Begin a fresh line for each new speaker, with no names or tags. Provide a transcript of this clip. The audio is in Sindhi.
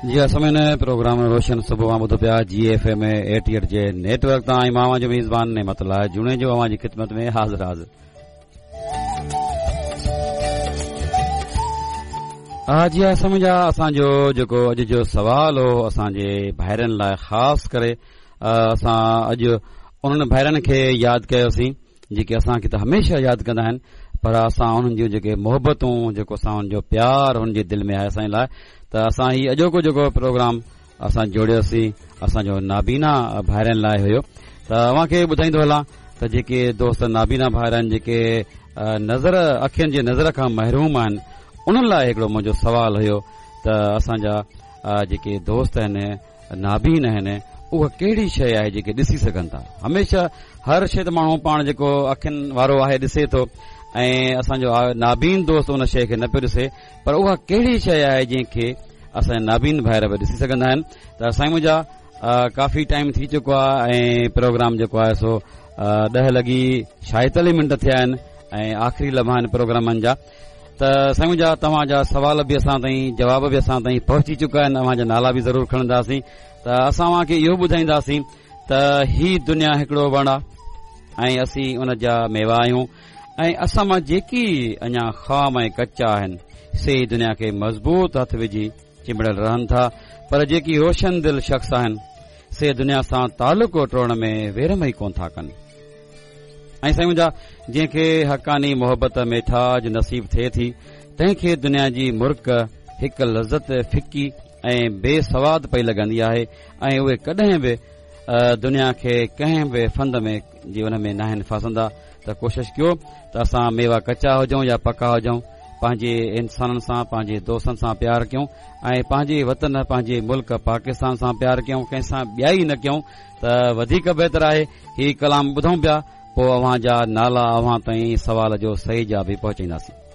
جي ها سامعين پروگرام روشن صبح اوهان ٻڌو پيا جي ايف ايم 88 جي نيٽ ورڪ تان ۽ مان اوهان جو ميزبان نعمت الله جوڻيجو اوهان جي خدمت ۾ حاضر حاضر ها جي ها سامعين اسان جو جيڪو اڄ جو سوال هو اسان جي ڀائرن لاء خاص ڪري اسان اڄ انهن ڀائرن کي ياد ڪيوسين جيڪي اسان کي ته هميشه ياد ڪندا آهن پر اسان انهن جون جيڪي محبتون جيڪو اسان انهن جو پيار انهن جي دل ۾ آهي اسان جي لاء ته اسان هي اڄوڪو جيڪو پروگرام اسان جوڙيوسين اسان جو نابينا ڀائرن لاء هيو ته اوهان کي ٻڌائيندو هلان ته جيڪي دوست نابينا ڀائر آهن جيڪي نظر اکين جي نظر کان محروم آهن انهن لاء هڪڙو منهنجو سوال هيو ته اسان جا جيڪي دوست آهن نابين آهن اها ڪهڙي شيء آهي جيڪي ڏسي سگهن ٿا هميشه هر شيء ته ماڻهو پاڻ جيڪو اکين وارو آهي ڏسي ٿو ۽ اسان جو نابين دوست ان شيء کي نه پيو ڏسي پر اها ڪهڙي شيء آهي جنهن کي اسان جا نابين ڀائر به ڏسي سگهندا آهن ته سائين منهنجا ڪافي ٽائيم ٿي چڪو آهي ۽ پروگرام جيڪو آهي سو ڏهه لڳي ڇائيتاليهه منٽ ٿيا آهن ۽ آخري لمحا آهن پروگرامن جا ته سائين منهنجا توهان جا سوال به اسان تائين جواب به اسان تائين پهچي چڪا آهن اوهان جا نالا به ضرور کڻنداسين ته اسان اوهان کي اهو ٻڌائينداسين ته هي دنيا هڪڙو وڻ آهي ۽ اسين ان جا ميوا آهيون ۽ اسان مان جيڪي اڃا خام ۽ ڪچا آهن سي دنيا کي مضبوط هٿ وجهي چنبڙيل رهن ٿا پر جيڪي روشن دل شخص آهن سي دنيا سان تعلق ٽوڙڻ ۾ ويرم ئي ڪونه ٿا ڪن. ۽ سائين منهنجا جنهن کي حقاني محبت ميٺاج نصيب ٿئي ٿي تنهن کي دنيا جي مرڪ هڪ لذت ڦڪي ۽ بي سواد پئي لڳندي آهي ۽ اهي ڪڏهن به دنيا کي ڪنهن به ڦند ۾ جي ان ۾ ناهن ڦاسندا ته ڪوشش ڪيو ته اسان ميوا ڪچا هجون يا پڪا هجون پنهنجي انسانن سان پنهنجي دوستن سان پيار ڪيون ۽ پنهنجي وطن پنهنجي ملڪ پاڪستان سان پيار ڪيون ڪنهن سان ٻيائي نه ڪيون ته وڌيڪ بهتر آهي هي ڪلام ٻڌون پيا پوء اوهان جا نالا اوهان تائين سوال جو صحيح جواب به پهچائينداسين.